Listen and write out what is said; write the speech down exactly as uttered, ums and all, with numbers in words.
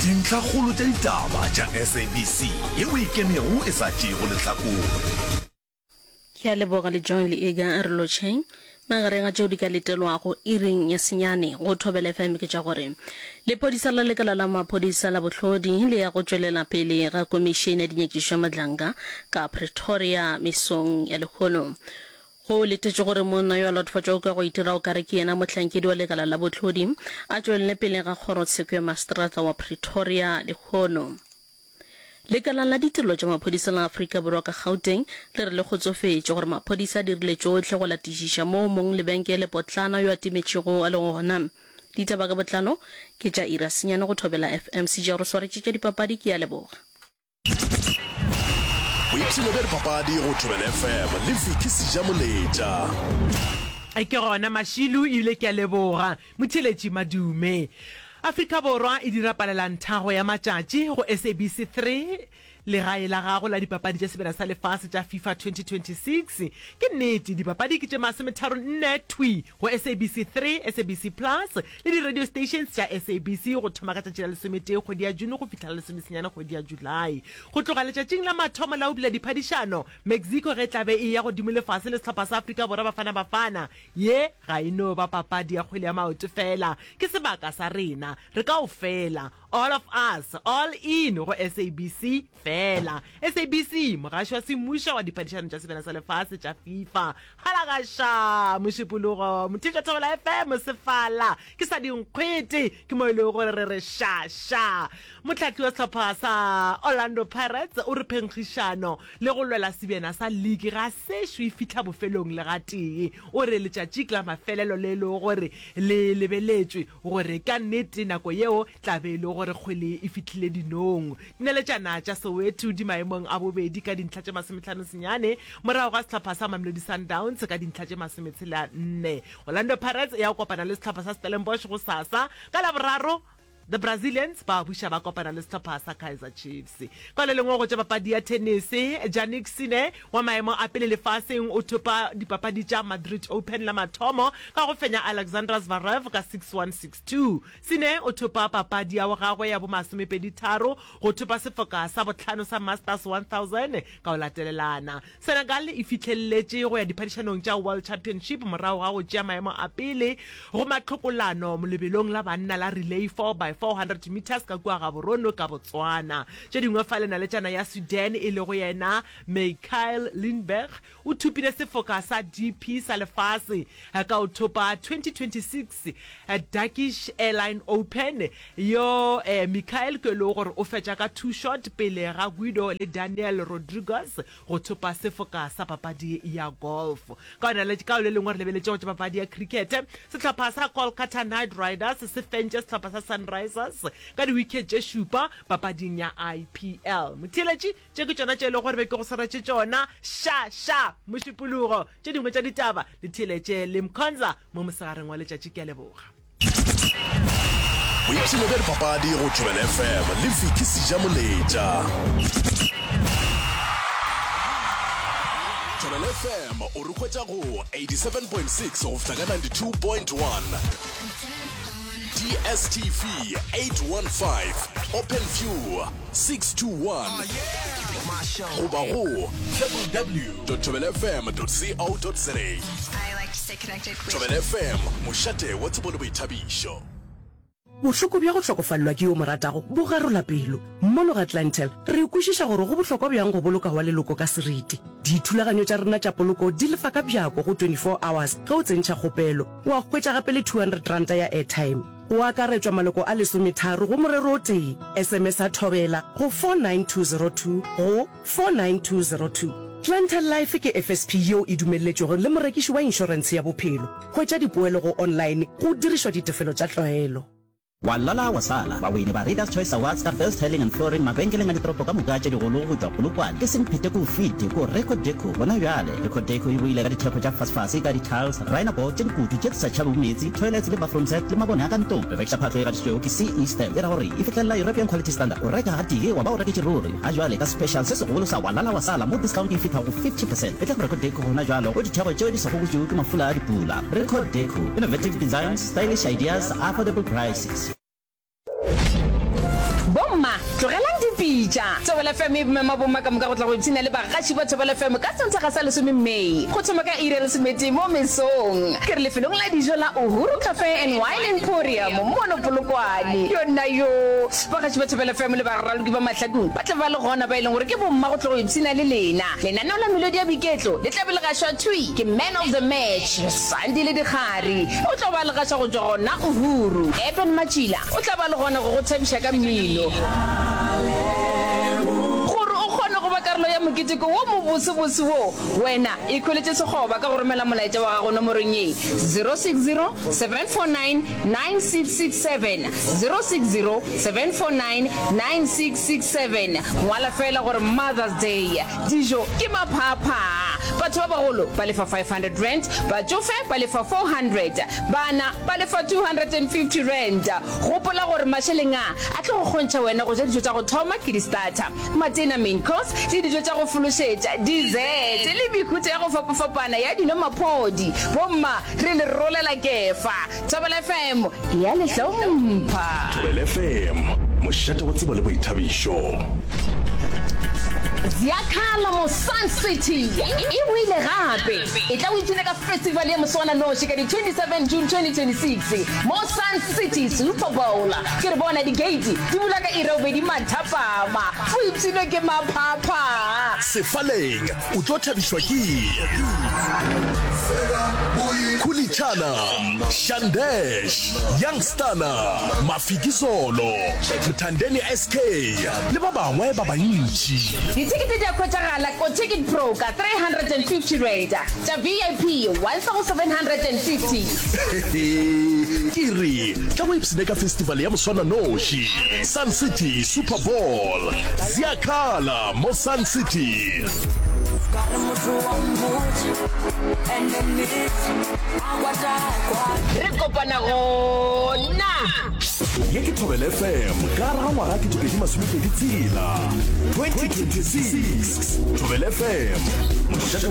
Dintlhakgolo tša ditaba tša S A B C yeo e ikemego e sa tšeego lehlakore. Ke a leboga le John le Ega re lotšheng. Magareng ga tšeo di ka letelwago iring ya senyane go Thobela F M ke tša gore lephodisa la lekala la maphodisa la bohlodi le ya go tšwelela pele ga komišene ya dinyakišišo ya Madlanga ka Pretoria mesong ya lehono. Go letetšwe gore monna yo a latofatšwago ka go itira o kare ke yena mohlankedi wa lekala la bohlodi a tšwelele pele ga kgorotsheko ya maseterata wa Pretoria lehono. Lekala la ditirelo tša maphodisa la Afrika Borwa ka Gauteng le re le kgotsofetše gore maphodisa a dirile tšohle go latišiša moo mong lebenkele potlana yo a timetšego a lego gona. Ditaba ka botlalo ke tša iri ya senyane go Thobela F M. Sejaro swaretše tša dipapadi ke a leboga. Boipshino bja dipapadi go Thobela F M le Vicky Sejamoletša. Ke gona Mašilu ebile ke a leboga. Motheeletši Madume. Afrika Borwa e dira palelanthago ya matšatši go S A B C three, legae la gago la dipapadi tša Sebjana sa Lefase tša FIFA twenty twenty-six. Ke nnete, dipapadi ke tše masometharo nne thwi go S A B C three, S A B C Plus le di-radio stations tša S A B C go thoma ka tšatši la lesometee kgwedi ya June go fihla la lesomesenyane kgwedi ya July. Go tloga letšatšing la mathomo la go bula diphadišano, Mexico ge e tla be e eya godimo le fase le sehlopha sa Afrika Borwa Bafana Bafana, ye ga e no ba papadi ya kgwele ya maoto fela, ke sebaka sa rena, re kaofela, all of us, all in go S A B C fela. S A B C, mogaši wa semmušo wa diphadišano tša Sebjana sa Lefase tša FIFA. Halagaša! Mošupologo, Mothiša Thobela F M, Sefala, ke sa dinkgwete, ke mo e lego gore re re ša ša. Mohlahli wa sehlopha sa Orlando Pirates o re phenkgišano le go lwela sebjana sa liki ga sešo e fihla bofelong le gatee. O re letšatši ke la mafelelo le e lego gore le lebeletšwe gore ka nnete nako yeo tla be e le gore kgwele e fihlile dinong. Dinaletšana tša Soweto di maemong a bobedi ka dintlha tše masomehlano senyane morago ga sehlopha sa Mamelodi Sundowns ka dintlha tše masometshela nne. Orlando Pirates e ya go kopana le sehlopha sa Stellenbosch gosasa ka Laboraro. The Brazilians ba buša ba kopana le sehlopha sa Kaizer Chiefs. Ka le lengwe go tša papadi ya tenese, Jannik Sinner wa maemo a pele lefaseng o thopa dipapadi tša Madrid Open la mathomo ka go fenya Alexander Zverev ka six one six two. Sinner o thopa papadi ya gagwe ya bomasomepedi tharo go thopa sefoka sa bohlano sa Masters one thousand ka go latelelana. Senegal e fihleletše go ya diphadišanong tša World Championship morago ga go tšea maemo a pele go mahlokolano lebelong la banna la relay four by four hundred meters ka kua Gaborone ka Botswana. Tše dingwe fa lenaletšana ya Sweden e lego yena Mikael Lindberg o thopile sefoka sa D P sa lefase ka go thopa twenty twenty-six Turkish Airline Open. Yo eh, Mikael ke le gore o fetša ka two shot pele ga Guido le Daniel Rodriguez go thopa sefoka sa papadi ya golf. Ka ka le lengwe re lebeletše go tša papadi ya cricket, sehlopha sa Kolkata Knight Riders se fentše sehlopha sa Sunrisers ka di-wicket tše šupa papading ya I P L. Motheeletši, tše ke tšona tše e lego gore be ke go swaretše tšona. Ša ša mošupologo, tše dingwe tša ditaba le theeletše le Mkhonza mo mosegareng wa letšatši. Ke a leboga. Boipshino bja dipapadi go Thobela F M le Vicky Sejamoletša. Thobela F M o re hwetša go eighty-seven point six go fihla ka ninety-two point one, D S T V eight one five, Open View six two one goba go W W W dot thobelafm dot co dot za. Thobela F M, mošate wa tsebo le boithabišo. Bohloko bja go hlokofalelwa ke yo mo ratago bo garola pelo. Mono ga Clientele re kwešiša gore go bohlokwa bjang go boloka wa leloko ka seriti. Dithulaganyo tša rena tša poloko di lefa ka bjako go twenty-four hours ge o tsentšha kgopelo, wa hwetša gape le two hundred ranta ya airtime. Go akaretšwa maloko a lesometharo go morero o tee. S M S a Thobela go four nine two zero two go four nine two zero two. Clientele Life ke F S P yeo e dumelletšwego le morekiši wa inšorentshe ya bophelo. Hwetša dipoelo go online go dirišwa ditefelo tša tlwaelo. Wa lala wa sala, bawini ba Readers Choice Awards ka Best Tiling and Flooring mabenkeleng a ditoropo ka moka tše digolo go tšwa Polokwane ke Semphete ko fite ko Record Deco gona bjale. Record Deco e boile ka dithekgo tša fasefase ka di-tiles, rhino board tše dikutu tše di sa tšhabego meetse, toilets le bathroom set le mabone a ka ntlong. Re rekiša phahlo e gatišitšwego ke C E Stamp e ra gore e fihlelela European Quality Standard. O reka gatee wa ba o reketše ruri. Ga jwale ka special se segolo sa wa lala wa sala mo discount e fihla go fifty percent. E tla go Record Deco gona jwalo go ditheko tšeo di sa gokotšwego ke mafula a dipula. Record Deco, innovative designs, stylish ideas, affordable prices. Bo Tlogelang dipitša. Thobela F M e mema bomma ka moka go tla go ipshina le bagaši ba Thobela F M ka Sontaga sa lesome May go thoma ka iri ya lesometee mo mesong. Ke re lefelong la dijo la Uhuru Cafe and Wine Emporium mono Polokwane. Yo nna yo! Bagaši ba Thobela F M le baraloki ba Mahlakung ba tla ba le gona ba e leng gore ke bomma go tlo go ipshina le lena. Lenaneo la Melodi ya Boiketlo le tla be le gašwa thwi ke Man of the Match, Sandile Dikgari. O tlo ba le gaša go tšwa gona Uhuru. Eben Matšila o tla ba le gona go go thabiša ka mmino. Gore o kgone go ba karolo ya moketeko wo mobosebose wo, wena ikhweletše sekgoba ka go romela molaetša wa gago nomorong ye, zero six zero, seven four nine, nine six six seven, zero six zero, seven four nine, nine six six seven. Ngwala feela gore Mother's Day. Dijo ke maphaaphaa. Batho ba bagolo ba lefa five hundred rand, batšofe ba lefa four hundred, bana ba lefa two hundred and fifty rand. Gopola gore mašeleng a a tlo go kgontšha wena go ja dijo tša go thoma ke di-starter, matena, main course, le dijo tša go fološetša, dessert, le mehuta ya go fapafapana ya dino maphodi. Bomma, re le rolela kefa. Thobela F M e a le hlompha. Thobela F M, mošate wa tsebo le boithabišo. Ziyakhala mo Sun City e boile gape. E tla o ipshine ka festival ya moswananoši ka di twenty seven June twenty twenty six mo Sun City Super Bowl. Ke re bona di-gate di bula ka iri ya bobedi mathapama. O ipshinwe ke maphapha. Sefaleng o tlo thabišwa ke Khulitshana, Shandesh, Youngstana, Mafikizolo, Mthandeni S K le ba bangwe ba bantši. Dithekete di a hwetšagala ko Ticket Pro ka three hundred and fifty rand, tša V I P one thousand seven hundred and fifty. Hehe, ke re tla go ipshine ka festival ya moswananoši, Sun City Super Bowl. Ziyakhala mo Sun City. Re kopana gona. Ye ke Thobela F M ka gare ga ngwaga ketepedi masomepedi tshela, twenty twenty six. Thobela F M, mošate